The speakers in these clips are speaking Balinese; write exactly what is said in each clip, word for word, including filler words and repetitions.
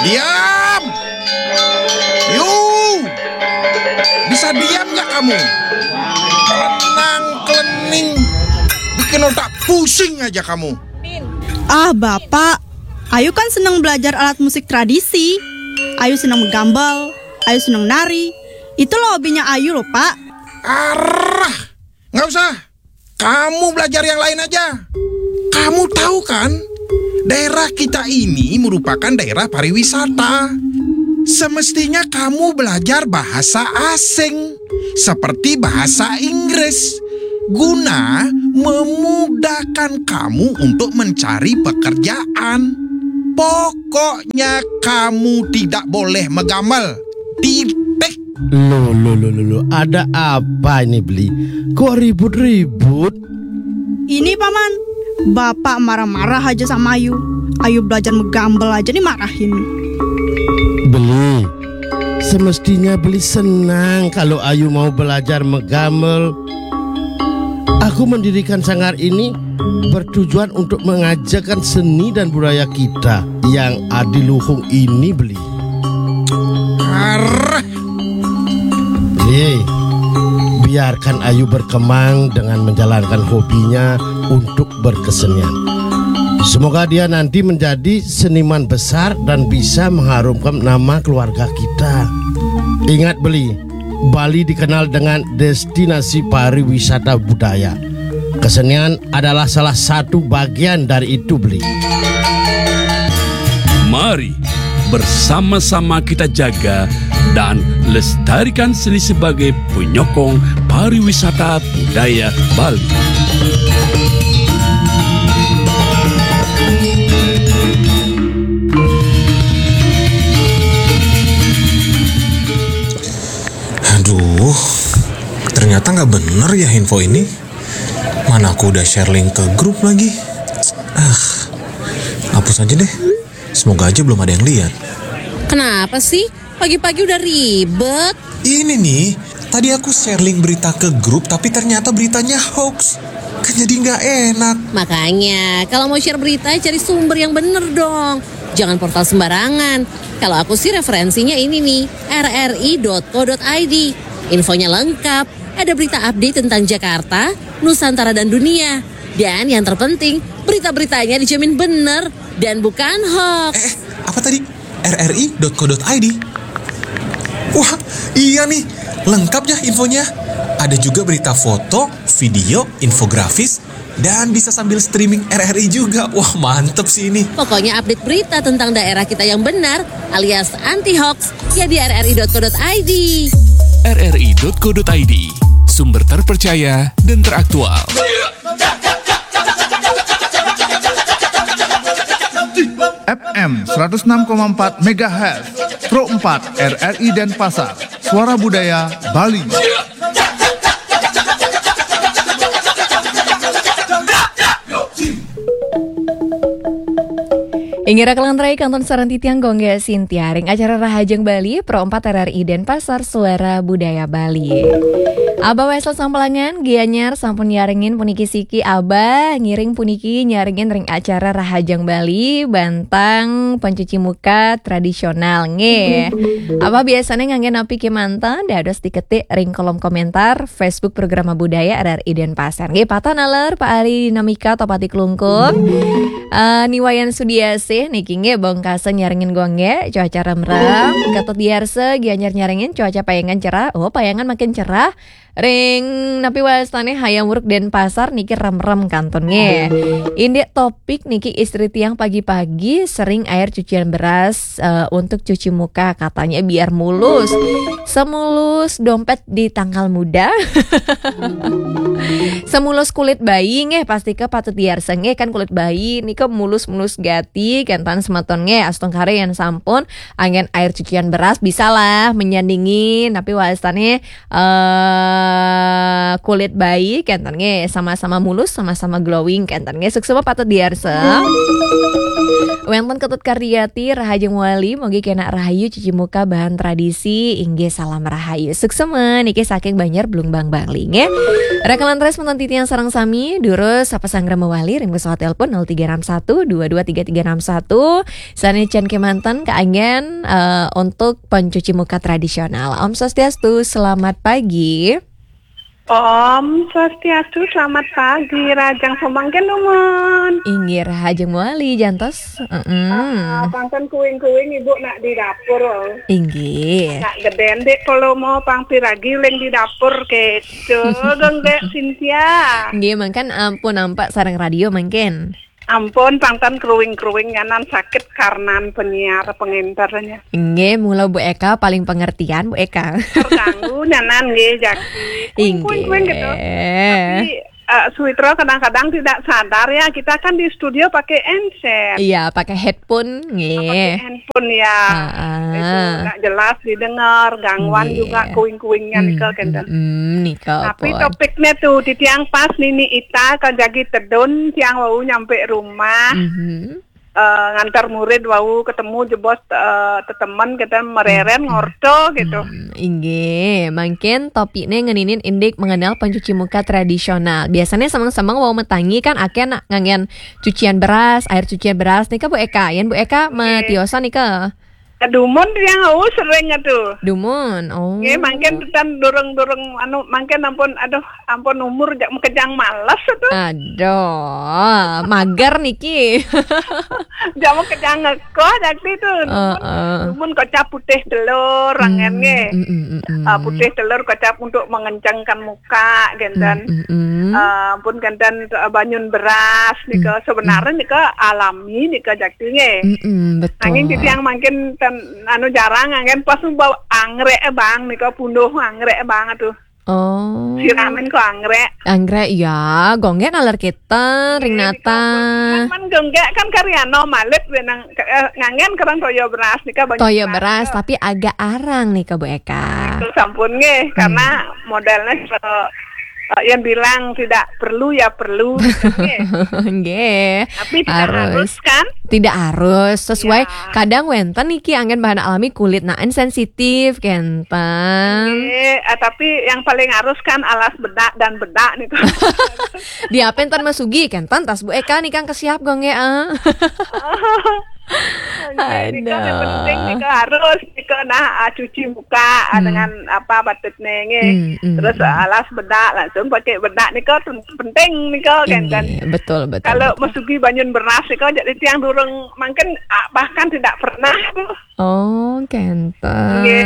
Diam! You! Bisa diam nggak kamu? Kelenang, kelening, bikin otak pusing aja kamu. Ah, Bapak, Ayu kan seneng belajar alat musik tradisi. Ayu seneng menggambel, Ayu seneng nari. Itu loh hobinya Ayu loh, Pak. Arah, nggak usah. Kamu belajar yang lain aja. Kamu tahu kan, daerah kita ini merupakan daerah pariwisata. Semestinya kamu belajar bahasa asing, seperti bahasa Inggris, guna memudahkan kamu untuk mencari pekerjaan. Pokoknya kamu tidak boleh megamal. Titik. Loh, loh, loh, loh, loh. Ada apa ini, Beli? Kok ribut-ribut? Ini, Paman, Bapak marah-marah aja sama Ayu. Ayu belajar menggambel aja dimarahin. Beli, semestinya Beli senang kalau Ayu mau belajar megamel. Aku mendirikan sanggar ini bertujuan untuk mengajarkan seni dan budaya kita yang adiluhung ini, Beli. Arah. Beli, biarkan Ayu berkembang dengan menjalankan hobinya untuk berkesenian. Semoga dia nanti menjadi seniman besar dan bisa mengharumkan nama keluarga kita. Ingat, Beli, Bali dikenal dengan destinasi pariwisata budaya. Kesenian adalah salah satu bagian dari itu, Beli. Mari bersama-sama kita jaga dan lestarikan seni sebagai penyokong pariwisata budaya Bali. Aduh, ternyata nggak bener ya info ini. Mana aku udah share link ke grup lagi. Ah, hapus aja deh. Semoga aja belum ada yang lihat. Kenapa sih? Pagi-pagi udah ribet. Ini nih, tadi aku share link berita ke grup tapi ternyata beritanya hoax. Kan jadi nggak enak. Makanya, kalau mau share berita, cari sumber yang bener dong. Jangan portal sembarangan. Kalau aku sih referensinya ini nih, rri.co.id. Infonya lengkap, ada berita update tentang Jakarta, Nusantara dan dunia. Dan yang terpenting, berita-beritanya dijamin bener dan bukan hoax. Eh, apa tadi? rri.co.id. Wah, iya nih, lengkap ya infonya. Ada juga berita foto, video, infografis, dan bisa sambil streaming R R I juga. Wah, mantep sih ini. Pokoknya update berita tentang daerah kita yang benar alias anti hoax ya di rri.co.id. rri.co.id, sumber terpercaya dan teraktual. F M seratus enam koma empat megahertz, Pro empat R R I Denpasar, Suara Budaya Bali. Ingira kalantarai kantun sareng titiang Gongga Sintia ring acara Rahajeng Bali, Pro empat R R I Denpasar, Suara Budaya Bali. Abah Wesel Sampalangan, Gianyar, sampun nyarengin puniki siki Abah, ngiring puniki nyarengin ring acara Rahajeng Bali, bantang pencuci muka tradisional nggih. Abah biasanya ngangge napi kemanten, dados diketik ring kolom komentar Facebook Programa Budaya R R I Denpasar. Nggih, patah naler Pak Ari Dinamika Topati Klungkung. Eh, Niwayan Sudiasih niki nggih Bongkasen nyarengin Gongge, cuaca remrem. Ketut Diarse Gianyar nyarengin cuaca payangan cerah. Oh, payangan makin cerah. Ring napi wastane Hayam Wuruk Denpasar niki remrem kantun nggih. Indik Topik niki istri tiang pagi-pagi sering air cucian beras eh, untuk cuci muka, katanya biar mulus. Semulus dompet di tanggal muda. Semulus kulit bayi nggih, pasti ke patut diarsa nggih, kan kulit bayi nika mulus-mulus gati, kentan semeton nggih, astungkara yang sampun angin air cucian beras bisa lah menyandingi, tapi wastane eh eh, kulit bayi, kenten nggih, sama-sama mulus, sama-sama glowing, kenten nggih. Suksma patut diarsa. Wenten Ketut Karyati, Rahajeng Wali, mugi kenak rahayu cuci muka bahan tradisi, inggih salam rahayu. Suksma niki saking Banjar Blumbang Bali nggih. Rekalan tres menton titiang sareng sami, durus sapa sanggra mawali, ring pesawat telepon nol tiga enam satu dua dua tiga tiga enam satu. Sane jan kemanten kaanggen eh, untuk pencuci muka tradisional. Om Swastiastu, selamat pagi. Om Swastiastu, selamat pagi. Rahajeng samangkin dumun. Inggih, Rahajeng Wali jantos. Heeh. Ah, pangken kuing-kuing Ibu nak di dapur. Inggih. Nak geden dek kalau mau pang piragi leng di dapur keco dong dek Cynthia. Nggih, mangken ampun nampak sareng radio mangken. Ampun, pangken kruing-kruing nyanan sakit karnan penyiar penginternya. Nggih, mula Bu Eka paling pengertian, Bu Eka. Terganggu nyanan nggih, Jaki. Inggih. Kuing-kuing gitu. Tapi eh, Suwitra kadang-kadang tidak sadar ya, kita kan di studio pakai handset. Iya, pakai headphone, nggih. Pakai handphone ya. Heeh. Itu nggak jelas didengar, gangguan juga kuing-kuingnya nika kenten. Mm, nika. Tapi pun topiknya tuh, titiang pas nini ita kajagi tedun, tiang wau nyampe rumah. Mhm. Eh, ngantar murid wau ketemu jebos eh, tetemen kita mereren ngorto gitu. Hmm, inggih, mangkin topikne ngeninin indik mengenal pencuci muka tradisional. Biasanya semeng-semeng wau metangi kan akeh nak nganggen cucian beras, air cucian beras nika Bu Eka. Yen Bu Eka matiosan nika. Dumun tiang wau sering atuh. Dumun. Oh. Nggih, mangkin tetan durung-durung anu mangkin ampun aduh ampun umur jak makejang males atuh. Aduh, mager niki. Jak makejang ngekoh dakti tuh. Heeh. Dumun kocap putih telur, rangen nggih. Mm, mm, mm, mm. Ah, putih telur kocap untuk mengencangkan muka, genten. Mm, mm, mm. Ah, pun genten eh, banyun beras nika sebenarnya nika alami nika jakti nggih. Mm, mm, betul. Nanging titiang mangkin ten anu jarang anggen pas bau anggrek eh, bang nika punduh anggrek eh, bang atuh. Oh. Siramin kok anggrek. Anggrek ya, gongge naler kita ring nata. Kan gongge kan karyano malit benang eh, ngangen kerang toyo beras nika banyak. Toyo beras tapi agak arang nika Bu Eka. Itu sampun nggih karena modelnya se- eh, yang bilang tidak perlu ya perlu nggih. Nggih. Tapi tidak harus kan? Tidak harus sesuai. Ya. Kadang wenten niki anggen bahan alami kulit nah sensitif kenten. Nggih, eh, tapi yang paling harus kan alas bedak dan bedak nih. Diapen ten masugi kenten tas Bu Eka nih kan kesiap gongge ah. Nggih, nika yang penting nika harus nika nah ah, cuci muka ah, dengan apa batik nenge. Hmm, hmm, terus hmm. Alas bedak langsung pakai bedak nika ten- penting nika kan kan. Inggih, betul betul. Kalau betul. Masugi banyun beras nika jadi tiang durung mungkin ah, bahkan tidak pernah tuh. Oh, kenten. Nggih,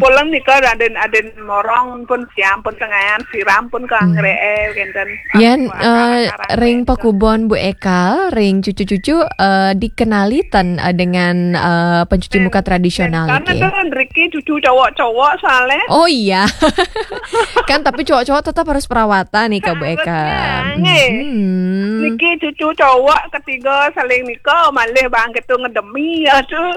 kumpulan nika aden-aden morong pun siam pun tengayan siram pun ke anggrek eh kenten. Yen eh, ring pekubon Bu Eka, ring cucu-cucu eh, dikenali ten eh, dengan eh, pencuci muka tradisional karena niki. Kan riki cucu cowok-cowok soalnya. Oh iya. Kan tapi cowok-cowok tetap harus perawatan nih Kak Bu Eka. Harusnya, nggih. Hmm. Niki cucu cowok ketiga saling nika malih bang gitu ngedemi ya tuh.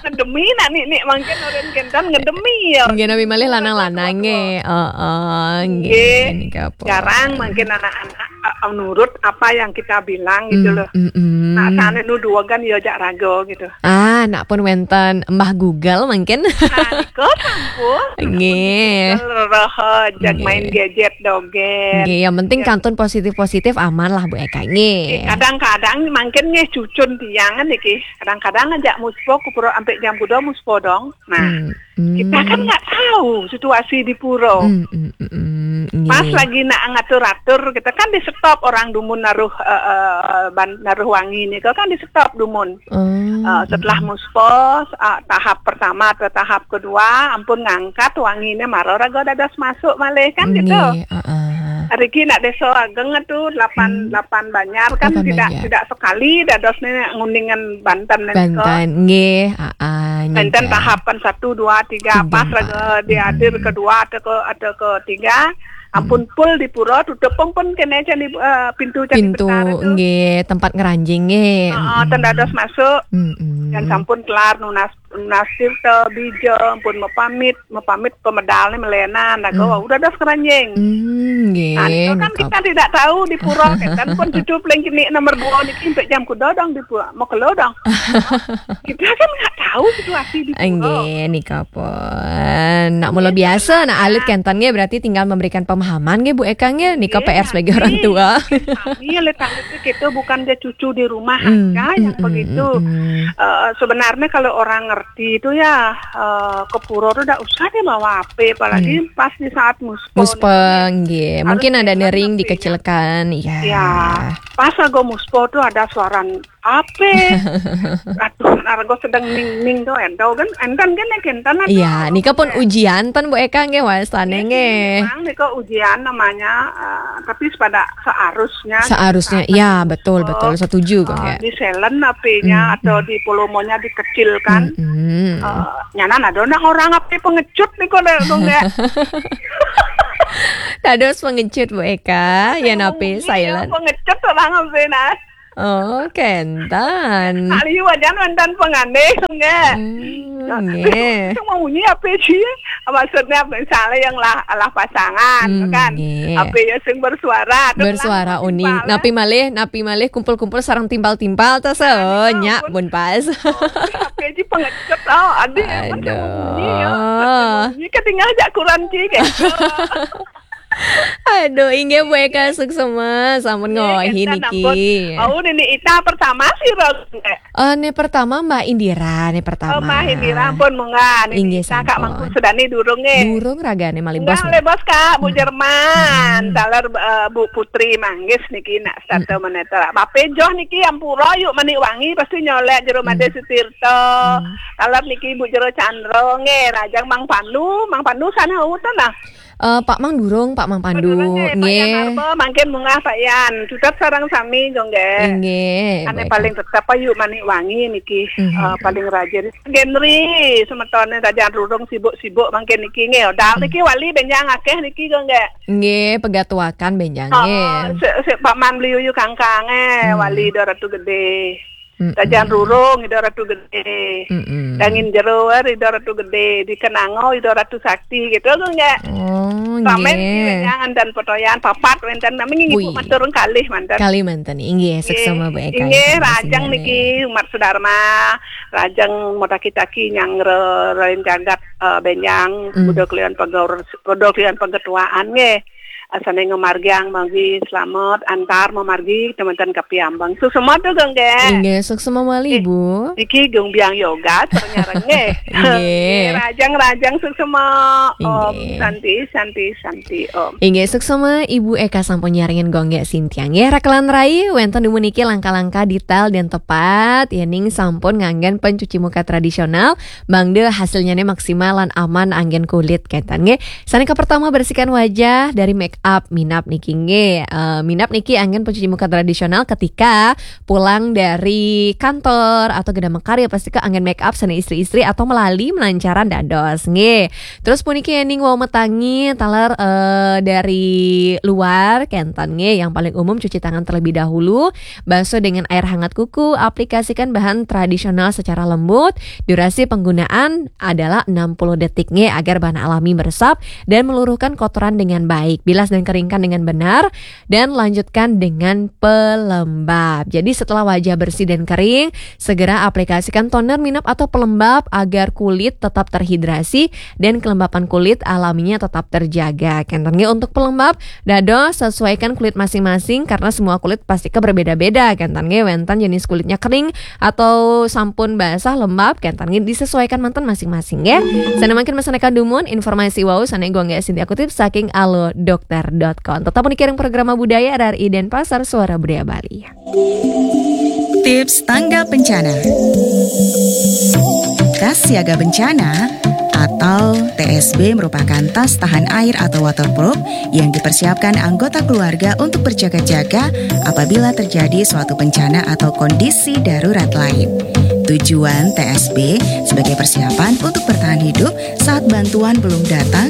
Ngedemi nak nik nik mangkin orang kenten ngedemi ya. Nggih nabi malih lanang-lanang nggih. Heeh, nggih. Nggih. Nika apa? Jarang mungkin anak-anak eh, nurut apa yang kita bilang gitu loh. Mm, mm, mm. Nah, sana nu dua kan ya jak raga gitu. Ah, nak pun wenten Mbah Google mungkin. Nah, nika sampun. Nggih. Google roh jak main gadget dogen. Nggih, yang penting kantun positif-positif aman lah Bu Eka nggih. Kadang-kadang mungkin nggih cucun tiangan niki. Kadang-kadang ngajak muspo kupuro sampai jam kuda muspo dong. Nah, hmm, hmm. Kita kan nggak tahu situasi di puro. Hmm, hmm, hmm, hmm, pas nggih. Lagi nak ngatur-atur, kita kan di stop orang dumun naruh eh, eh, ban- naruh wangi nih, kan di stop dumun. Oh, eh, setelah hmm. Muspos eh, tahap pertama atau tahap kedua, ampun ngangkat wanginya maro raga dadas masuk malih kan gitu. Nggih, heeh. Riki nak desa ageng itu delapan hmm. Delapan banjar kan tidak banjar. Tidak sekali dados nih nguningan Banten nih. Banten nggih, heeh. Banten tahapan satu dua tiga pas raga dihadir kedua atau ke atau ketiga Ampun pul di pura, tutup pun, pun kene candi, eh, pintu candi Pintu, betara tu. Nggih, tempat ngranjing nggih. Heeh, ten dados masuk. Mm-mm. Dan sampun kelar nunas, nunas tirta, bija, ampun mepamit, mepamit pemedalne melenan, lagu, hmm, wau dados ngranjing. Hmm, nggih, nah, itu kan nika kita tidak tahu di pura, kan pun cucu paling kini nomor dua niki sampai jam kuda dong di pura, mau kelo dong. Kita kan nggak tahu situasi di pura. Nggih, nika pun. Nak mula biasa, nak alit kenten nggih, berarti tinggal memberikan pemahaman nggih, Bu Eka nggih. Nika P R sebagai orang tua. Iya, alit-alit itu bukan dia cucu di rumah aja yang begitu. Eh, sebenarnya kalau orang ngerti itu ya, eh, ke pura tuh ndak usah deh bawa H P, apalagi pas di saat muspo. Muspo, nggih. Mungkin ada nering dikecilkan, ya. Ya, pas aku muspo tuh ada suara H P. Aduh, nargo sedang ning-ning do, ento kan, enten kan, enten ada. Iya, nika pun ujian ten Bu Eka nggih, wastane nggih. Memang nika ujian namanya, eh, tapi pada seharusnya. Seharusnya, ya, betul, betul, setuju kok, eh, nggih. Di silent H P-nya atau di volume-nya dikecilkan. Eh, nyanan ada nah orang H P pengecut nika, dong, nggih. Dados pengecut Bu Eka, ya napi silent. Pengecut orang H P nah. Oh, kenten. Nak liu aja wonten pengane, nggih. Hmm, nggih. Cuma bunyi apa sih? Maksudnya misalnya yang lah, lah pasangan, kan? Nggih. Apa ya sing bersuara? Bersuara uning. Napi malih, napi malih kumpul-kumpul sareng timpal-timpal, tas, oh, nyak pun pas. Apa sih pengecut? Oh, ada yang bunyi ya. Bunyi ketinggal jak kurang sih, kayak gitu. Aduh, inggih Bu Eka suksema, sampun ngohi niki. Oh, nini Ita pertama sih, Ros. Eh, ne pertama Mbak Indira, ne pertama. Oh, Mbak Indira, ampun, munggah. Nini Ita, Kak Mangku Sudani durung, nggih. Durung ragane malih bos. Malih bos, Kak, Bu Jerman. Taler, eh, Bu Putri Manggis niki nak starta meneter. Bape joh niki ampura yuk manik wangi pasti nyolek jero Made Sutirta. Taler niki Bu Jero Chandra, nggih, rajang Mang Pandu, Mang Pandu sana utan lah. Eh, Pak Mang durung, Pak Mang Pandu. Durung, nggih, Pak Yan Arba, mangkin munggah Pak Yan. Cutet sareng sami, nggih. Nggih, ane baik. Paling tetep ayu manik wangi niki, eh, paling rajin. Genri, semetone tajan rurung sibuk-sibuk mangkin niki, nggih. Dal niki wali benjang akeh niki, nggih. Nggih, pegatuakan benjang, nggih. Oh, sik, sik Pak Man beli uyu kangkang, eh, wali do Ratu Gede. Tajan rurung Ida Ratu Gede. Dangin jero Ida Ratu Gede, di Kenango Ida Ratu Sakti gitu, nggih. Oh, nggih. Ramen niki wenyangan dan potoyan papat wenten nami ngibu matur kalih manten. Kalih manten, inggih, suksema Bu Eka. Inggih, rajang niki umat sedharma, rajang mutaki-taki nyang re-, rain jagat, eh, benjang, buda kalian pegaur-, buda kalian pegetuaan, nggih. Asane ngamargiang manggi slamet antar mamargi teman-teman kapiambang. Suksema tu, nggih. Inggih, suksema malih, Bu. Niki gung biang yoga, ternyareng, nggih. Inggih. Rajang-rajang suksema. Om Santi, Santi, Santi, Om. Inggih, suksema Ibu Eka sampun nyarengin gung nggih sintiang. Nggih, rakelan rai, wenten dumun niki langkah-langkah detail dan tepat, yening sampun nganggen pencuci muka tradisional, mangda hasilnyane maksimal lan aman anggen kulit, kenten, nggih. Sane kapertama, bersihkan wajah dari make up. Minab niki nggih. Eh, minab niki anggen pencuci muka tradisional ketika pulang dari kantor atau gedang makarya, pasti ke anggen make up sane istri-istri atau melali melancaran dados nggih. Terus puniki yening wau matangi taler, eh, dari luar, kenten nggih. Yang paling umum cuci tangan terlebih dahulu, basuh dengan air hangat kuku, aplikasikan bahan tradisional secara lembut, durasi penggunaan adalah enam puluh detik nggih, agar bahan alami meresap dan meluruhkan kotoran dengan baik. Bilas dan keringkan dengan benar dan lanjutkan dengan pelembab. Jadi setelah wajah bersih dan kering, segera aplikasikan toner, minab atau pelembab agar kulit tetap terhidrasi dan kelembapan kulit alaminya tetap terjaga. Kenten nggih untuk pelembab, dados sesuaikan kulit masing-masing karena semua kulit pasti ke berbeda-beda. Kenten nggih wenten jenis kulitnya kering atau sampun basah lembab, kenten nggih disesuaikan manten masing-masing nggih. Sane mangkin meseneka dumun informasi wau sane gung nggih Sintia kutip saking alo dokter dot com. Tetap mengikuti program Budaya R R I Denpasar, Suara Budaya Bali. Tips tanggap bencana. Tas siaga bencana atau T S B merupakan tas tahan air atau waterproof yang dipersiapkan anggota keluarga untuk berjaga-jaga apabila terjadi suatu bencana atau kondisi darurat lain. Tujuan T S B sebagai persiapan untuk bertahan hidup saat bantuan belum datang